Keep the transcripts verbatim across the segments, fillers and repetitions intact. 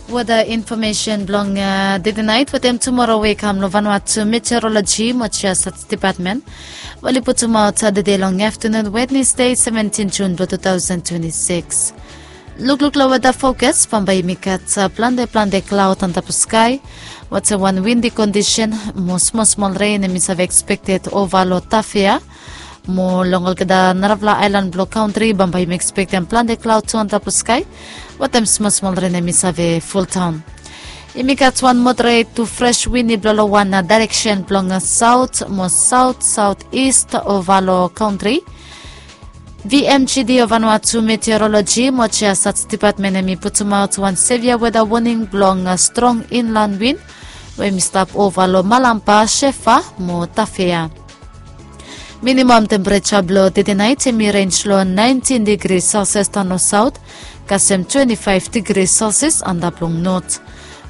Weda infomesen blong dede nait wetem tumoro we i kam long Vanuatu Meteorologi mo Geosat Depatmen, we oli putumaot dede long aftanun Wednesde, seventin Jun blong two thousand twenty-six. Lukluk long weda fokas, bambae yumi gat plante plante klaod antap long skae, wetem wan windi kondisen mo smol smol ren hemi save ekspekted ova long Tafea. Mo long olgeta narafala aelan blong kantri bambae yumi ekspektem plante klaod tu antap long skae, wetem smol smol ren hemi save fuldaon. Yumi gat wan moderet tu fres wini blong long wan daereksen blong saot mo saot saot ist ova long kantri. V M G D o Vanuatu Meteorologi mo Geosat Depatmen hemi putumaot wan sevia weda woning blong strong inlan win we hemi stap ova long Malampa, Sefa mo Tafea. Minimam tempereja blong dede nait hemi rens long naentin digri Celsius daon long saot, kasem twenti faef digri Celsius antap long not.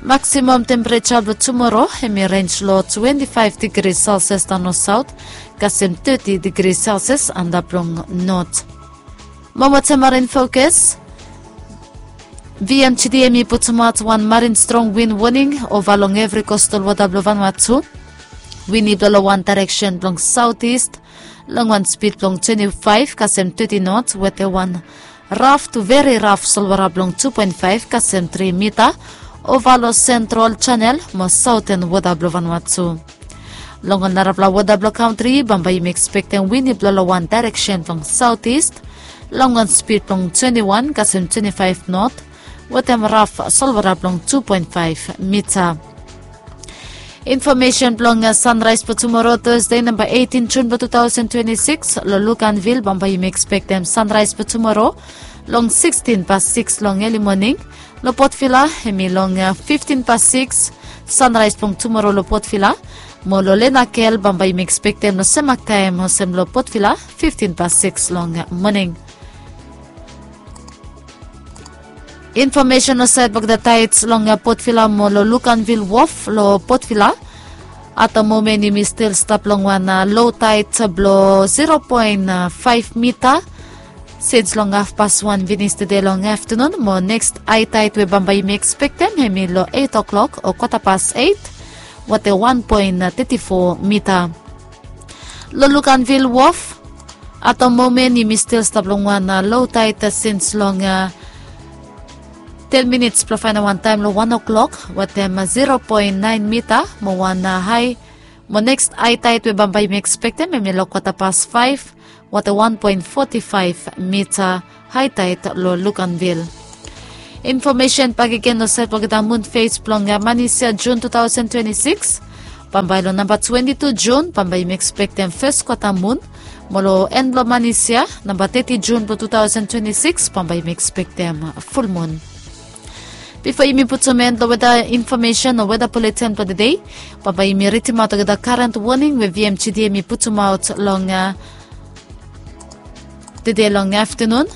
Maksimam tempereja blong tumoro hemi rens long twenti faef digri Celsius daon long saot, kasem teti digri Celsius antap long not. Mo wetem marin fokas, V M G D hemi putumaot wan marin strong win woning ova long evri kostal wota blong Vanuatu. Wini blong long wan daereksen blong saot ist long wan spid blong twenti faef kasem teti not, wetem wan raf tu veri raf solwara blong tu poen faef kasem tri mita ova long Sentral Janel mo saoten wota blong Vanuatu. Long ol narafala wota blong kantri bambae yumi ekspektem wini blong long wan daereksen blong saot ist long wan spid blong twenti wan kasem twenti faef not, wetem raf solwara blong tu poen faef mita. Infomesen blong sanraes blong tumoro, Tasde, namba eitin Jun blong tu taosen twenti sikis, long Luganvil bambae yumi ekspektem sanraes blong tumoro long sikstin pas sikis long eli moning. Long Port Vila hemi long fiftin pas sikis, sanraes blong tumoro long Port Vila. Mo long Lenakel bambae yumi ekspektem long sem mak taem olsem long Port Vila, fiftin pas sikis long moning. Infomesen long saed blong olgeta taets long Port Vila mo long Luganvil Wof long Port Vila. At the moment yumi stil stap long wan lo taed blong zero poen faef mita sins long hafpas wan finis tede long aftanun, mo neks hae taed we bambae yumi ekspektem hemi long eit o'klok o kwata pas eit, wetem wan poen teti fo mita. Long Luganvil Wof, at the moment yumi stil stap long wan lo taed sins long ten minits blong faenem wan taem long wan o'klok, wetem zero poen naen mita, mo wan hae, mo neks hae taed we bambae yumi ekspektem hemi long kwata pas faef, wetem wan poen foti faef mita, hae taed long Luganvil. Infomesen bakegen long saed blong olgeta mun fes blong manis yia, Jun tu taosen twenti sikis. Bambae long namba twenti tu Jun bambae yumi ekspektem fes kwata mun. Mo long en blong manis yia, namba teti Jun blong tu taosen twenti sikis, bambae yumi ekspektem fulmun. Bifo yumi putum en long weda infomesen o weda buletin blong tede, bambae yumi ridimaot olgeta karen woning we V M G D hemi putumaot long tede long aftanun.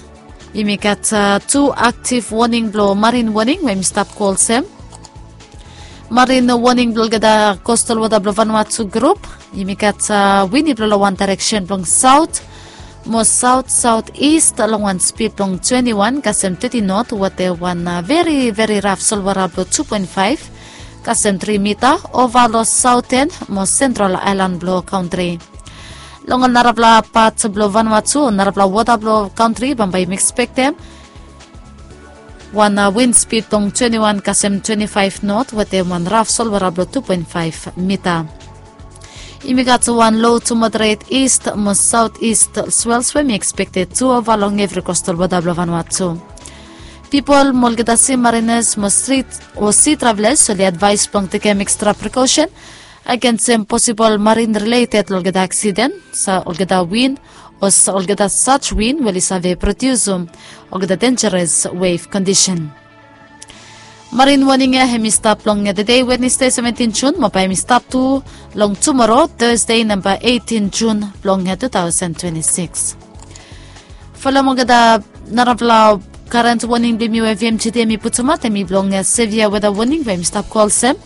Yumi gat tu aktiv woning blong marin woning we yumi stap go olsem. Marin woning blong olgeta kostal wota blong Vanuatu grup. Yumi gat wini blong long wan daereksen blong saot mo saot saot ist long wan spid blong twenti wan kasem teti not, wetem wan veri veri raf solwara blong tu poen faef kasem tri mita ova long saoten mo sentral aelan blong kantri. Long ol narafala pat blong Vanuatu o narafala wota blong kantri bambae yumi ekspektem wan win spid blong twenti wan kasem twenti faef not, wetem wan raf solwara blong tu poen faef mita. Yumi gat wan lo tu moderet ist mo saot ist swels we hemi ekspekted tu ova long evri kostal wota blong Vanuatu. Pipol mo olgeta si marinas mo strit o si travelas oli advaes blong tekem ekstra prekosen agensem posibol marin rileted long olgeta aksiden, olgeta win o olgeta saj win we oli save prodiusum olgeta denjaras wef kondisen. Marin woning ya hemi stap long tede, Wednesde, seventin Jun, mo bae hemi stap tu long tumoro, Tasde, namba eitin Jun blong tu taosen twenti sikis. Folem olgeta narafala karen woning blong yumi we V M G D hemi putumaot hemi blong sevia weda woning we hemi stap go olsem.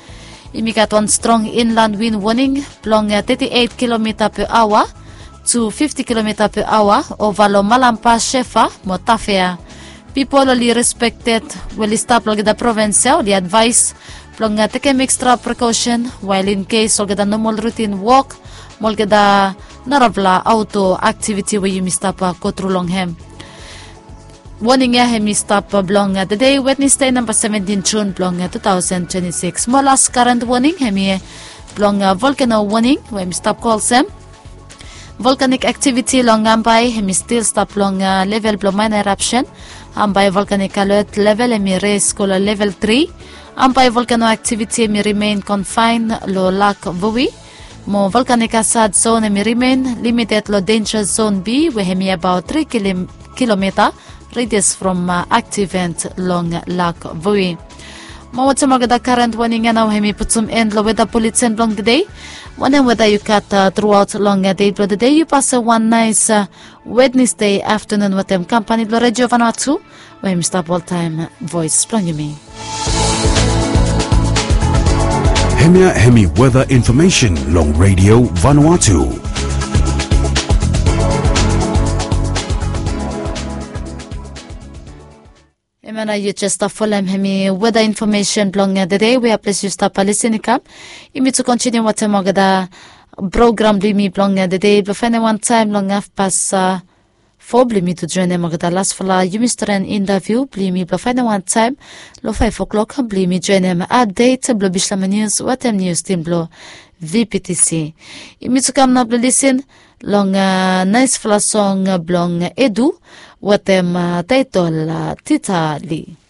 Yumi gat wan strong inlan win woning blong teti eit kilomita pe aoa tu fifti kilomita pe aoa ova long Malampa, Sefa mo Tafea. Pipol oli respekted we oli stap long olgeta provins ya oli advaes blong tekem ekstra prekosen wael in kes olgeta nomol rutin wok mo olgeta narafala aoto aktiviti we yumi stap gotru long hem. Woning ya hem i stap blong tede Wednesde namba seventin Jun blong tu taosen twenti sikis. Mo las karen woning hem i blong volkano woning we hem i stap go olsem. Volkanik aktiviti long Ambae hem i stil stap long level blong maena erapsen. Ambae volkanik alot level hem i res go long level tri. Ambae volkano aktiviti hem i rimen konfaen long lak Voi. Mo volkanik asad zon hem i rimen limited long denja zon B we hem i abaot tri kilomita redias from aktivent long lak Voi. Mo watem olgeta karen woning ya nao hem i putum en long weda buleten blong tede. Wanem weda yu gat truaot long dei blong tede, yu pasem wan naes Wednesde aftanun watem kampani blong redio Vanuatu we hem i stap oltaem voes blong yumi. Hemia hemi weda infomesen long redio Vanuatu. Hemia nao yu jes stap folem hemi weda infomesen blong tede we ya ples yu stap lisin i kam. Yumi tu kontiniu watem olgeta program blong yumi blong tede blong faenem wan taem long hafpas fo blong yumi tu joenem olgeta lasfala yumi stren intaviu blong yumi blong faenem wan taem long faef oklok blong yumi joenem apdet blong bislama nius watem nius tim blong VPTC. Yumi tu kam nao blong lisin long naesfala song blong Edu watem taetol Tita Li.